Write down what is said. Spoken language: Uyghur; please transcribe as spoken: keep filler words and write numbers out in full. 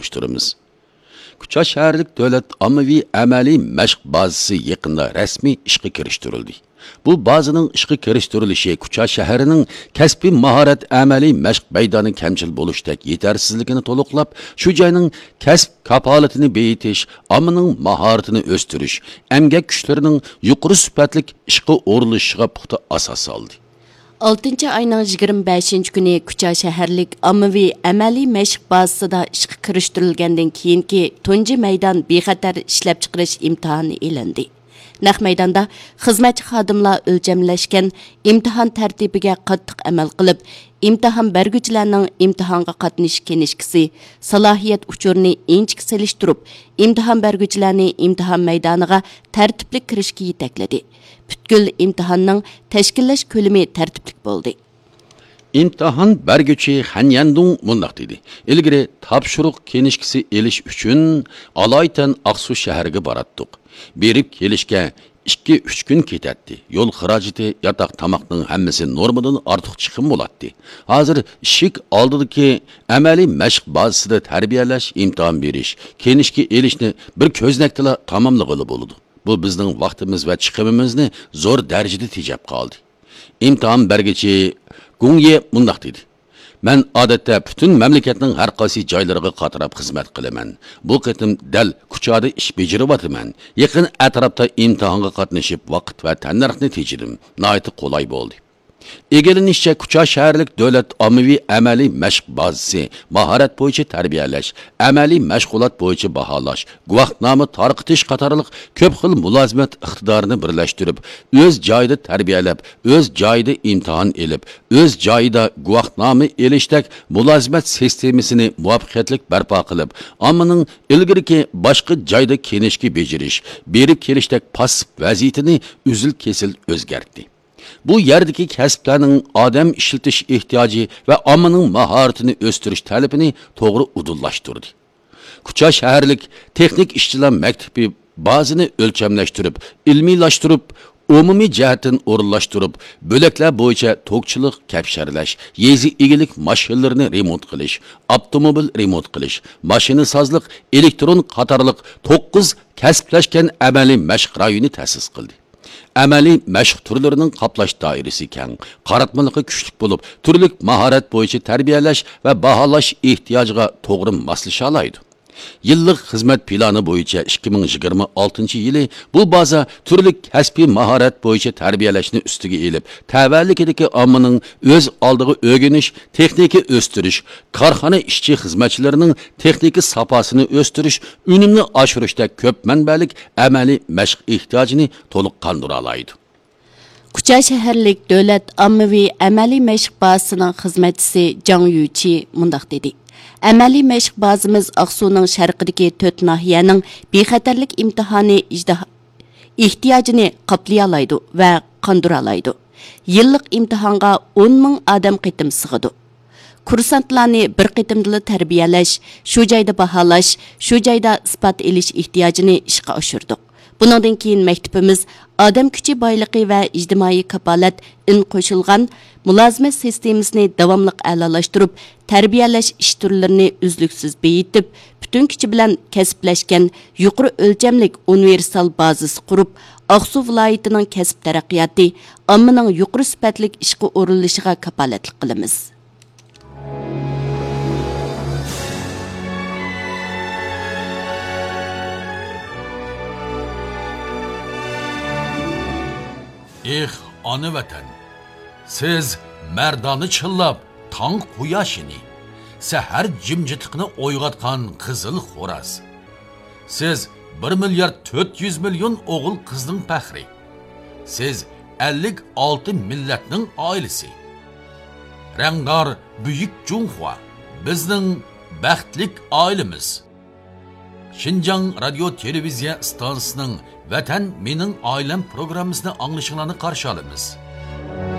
تونۇشتۇرىمىز. كۇچا شەھەرلىك دۆلەت ئاممىۋى ئەمەلىي مەشىق بازىسى يېقىندا رەسمىي ئىشقا كىرىشتۈرۈلدى. بۇ بازىنىڭ ئىشقا كىرىشتۈرۈلۈشى كۇچا شەھىرىنىڭ كەسپىي ماھارەت ئەمەلىي مەشىق مەيدانى كەمچىل بولۇشتەك يېتەرسىزلىكىنى تولۇقلاپ، شۇ جاينىڭ كەسىپ كاپالىتىنى بېيىتىش، ئاممىنىڭ ماھارىتىنى ئۆستۈرۈش، ئەمگەك كۈچلىرىنىڭ يۇقىرى سۈپەتلىك ئىشقا ئورۇنلىشىشىغا پۇختا ئاساس سالدى. ئالتىنچى ئاينىڭ يىگىرمە بەشىنچى كۈنى كۇچا شەھەرلىك ئاممىۋى ئەمەلىي مەشىق بازىسىدا ئىشقا كىرىشتۈرۈلگەندىن كېيىنكى تۇنجى مەيدان بىخەتەر ئىشلەپچىقىرىش ئىمتىھانى ئېلىندى. نەق مەيداندا خىزمەتچى خادىملار ئۆلچەملەشكەن، ئىمتىھان تەرتىپىگە قاتتىق ئەمەل قىلىپ، ئىمتىھان بەرگۈچىلەرنىڭ ئىمتىھانغا قاتنىشىش كىنىشكىسى، سالاھىيەت ئۇچۇرىنى ئىنچىكە سېلىشتۇرۇپ، ئىمتىھان بەرگۈچىلەرنى ئىمتىھان مەيدانىغا تەرتىپلىك كىرىشكە يېتەكلىدى. پۈتكۈل ئىمتىھاننىڭ تەشكىللەش كۆلىمى تەرتىپلىك بولدى. ئىمتىھان بەرگۈچى خەن يەندۇڭ مۇنداق دېدى: «ئىلگىرى تاپشۇرۇق كىنىشكىسى ئېلىش ئۈچۈن ئالايىتەن ئاقسۇ شەھىرىگە باراتتۇق. بېرىپ كېلىشكە ئىككى، ئۈچ كۈن كېتەتتى. يول خىراجىتى، ياتاق، تاماقنىڭ ھەممىسى نورمىدىن ئارتۇق چىقىم بولاتتى. ھازىر ئىشىك ئالدىدىكى ئەمەلىي مەشىق بازىسىدا تەربىيەلەش، ئىمتىھان بېرىش، كىنىشكا ئېلىشنى بىر كۆزنەكتىلا تاماملىغىلى بولىدۇ. بۇ بىزنىڭ ۋاقتىمىز ۋە چىقىمىمىزنى زور دەرىجىدە تېجەپ قالدى.» ئىمتىھان بەرگۈچى گۇڭيې مۇنداق دېدى: «مەن ئادەتتە پۈتۈن مەملىكەتنىڭ ھەر قايسى جايلىرىغا قاتراپ خىزمەت قىلىمەن. بۇ قېتىم دەل كۇچادا ئىش بېجىرىۋاتىمەن. يېقىن ئەتراپتا ئىمتىھانغا قاتنىشىپ، ۋاقىت ۋە تەننەرخنى تېجىدىم. ناھايىتى قولاي بولدى.» ئىگىلىنىشىچە، كۇچا شەھەرلىك دۆلەت ئاممىۋى ئەمەلىي مەشىق بازىسى، ماھارەت بويىچە تەربىيەلەش، ئەمەلىي مەشغۇلات بويىچە باھالاش، گۇۋاھنامە تارقىتىش قاتارلىق كۆپ خىل مۇلازىمەت ئىقتىدارىنى بىرلەشتۈرۈپ، ئۆز جايىدا تەربىيەلەپ، ئۆز جايىدا ئىمتىھان ئېلىپ، ئۆز جايىدا گۇۋاھنامە ئېلىشتەك مۇلازىمەت سىستېمىسىنى مۇۋەپپەقىيەتلىك بەرپا قىلىپ، ئاممىنىڭ ئىلگىرىكى باشقا جايدا كىنىشكا بېجىرىش، بېرىپ كېلىشتەك پاسسىپ ۋەزىيىتىنى ئۈزۈل-كېسىل ئۆزگەرتتى. بۇ يەردىكى كەسىپلەرنىڭ ئادەم ئىشلىتىش ئېھتىياجى ۋە ئاممىنىڭ ماھارىتىنى ئۆستۈرۈش تەلىپىنى توغرا ئۇدۇللاشتۇردى. كۇچا شەھەرلىك تېخنىك ئىشچىلار مەكتىپى بازىنى ئۆلچەملەشتۈرۈپ، ئىلمىيلاشتۇرۇپ، ئومۇمىي جەھەتتىن ئورۇنلاشتۇرۇپ، بۆلەكلەر بويىچە توكچىلىق، كەپشەرلەش، يېزا ئىگىلىك ماشىنىلىرىنى رېمونت قىلىش، ئاپتوموبىل رېمونت قىلىش، ماشىنىسازلىق، ئېلېكترون قاتارلىق توققۇز كەسىپلەشكەن ئەمەلىي مەشىق رايونى تەسىس قىلدى. ئەمەلىي مەشىق تۈرلىرىنىڭ قاپلاش دائىرىسى كەڭ، قاراتمىلىقى كۈچلۈك بولۇپ، تۈرلۈك ماھارەت بويىچە تەربىيەلەش ۋە باھالاش ئېھتىياجىغا توغرا ماسلىشالايدۇ. يىللىق خىزمەت پىلانى بويىچە ئىككى مىڭ يىگىرمە ئالتىنچى يىلى بۇ بازا تۈرلۈك كەسپىي ماھارەت بويىچە تەربىيەلەشنى ئۈستىگە ئېلىپ، تەۋەلىكىدىكى ئاممىنىڭ ئۆز ئالدىغا ئۆگىنىش، تېخنىكا ئۆستۈرۈش، كارخانا ئىشچى-خىزمەتچىلىرىنىڭ تېخنىكا ساپاسىنى ئۆستۈرۈش، ئۈنۈمنى ئاشۇرۇشتەك كۆپ مەنبەلىك ئەمەلىي مەشىق ئېھتىياجىنى تولۇق قاندۇرالايدۇ. كۇچا شەھەرلىك دۆلەت ئاممىۋى ئەمەلىي مەشىق بازىسىنىڭ خىزمەتچىسى جاڭ يۈچى مۇنداق دېدى: «ئەمەلىي مەشىق بازىمىز ئاقسۇنىڭ شەرقىدىكى تۆت ناھىيەنىڭ بىخەتەرلىك ئىمتىھانى ئىجتىھا-، ئېھتىياجىنى قاپلىيالايدۇ ۋە قاندۇرالايدۇ. يىللىق ئىمتىھانغا ئون مىڭ ئادەم قېتىم سىغىدۇ. كۇرسانتلارنى بىر قېتىمدىلا تەربىيەلەش، شۇ جايدا باھالاش، شۇ جايدا ئىسپات ئېلىش ئېھتىياجىنى ئىشقا ئاشۇردۇق. بۇنىڭدىن كېيىن مەكتىپىمىز ئادەم كۈچى بايلىقى ۋە ئىجتىمائىي كاپالەت ئىن قوشۇلغان مۇلازىمەت سىستېمىسىنى داۋاملىق ئەلالاشتۇرۇپ، تەربىيەلەش ئىش تۈرلىرىنى ئۈزلۈكسىز بېيىتىپ، پۈتۈن كۈچى بىلەن كەسىپلەشكەن يۇقىرى ئۆلچەملىك ئۇنىۋېرسال بازىسى قۇرۇپ، ئاقسۇ ۋىلايىتىنىڭ كەسىپ تەرەققىياتى، ئاممىنىڭ يۇقىرى سۈپەتلىك ئىشقا ئورۇنلىشىشىغا كاپالەتلىك قىلىمىز.» ئېھ، ئانا ۋەتەن! سىز مەردانە چىللاپ تاڭ قۇياشىنى، سەھەر جىمجىتلىقىنى ئويغاتقان قىزىل خوراز. سىز بىر مىليارد تۆت يۈز مىليون ئوغۇل-قىزنىڭ پەخرى. سىز ئەللىك ئالتە مىللەتنىڭ ئائىلىسى. رەڭدار بۈيۈك جۇڭخۇا، بىزنىڭ بەختلىك ئائىلىمىز. شىنجاڭ رادىيو تېلېۋىزىيە ئىستانسىسىنىڭ ۋەتەن مېنىڭ ئائىلەم پروگراممىسىنى ئاڭلىشىڭلارنى قارشى ئالىمىز.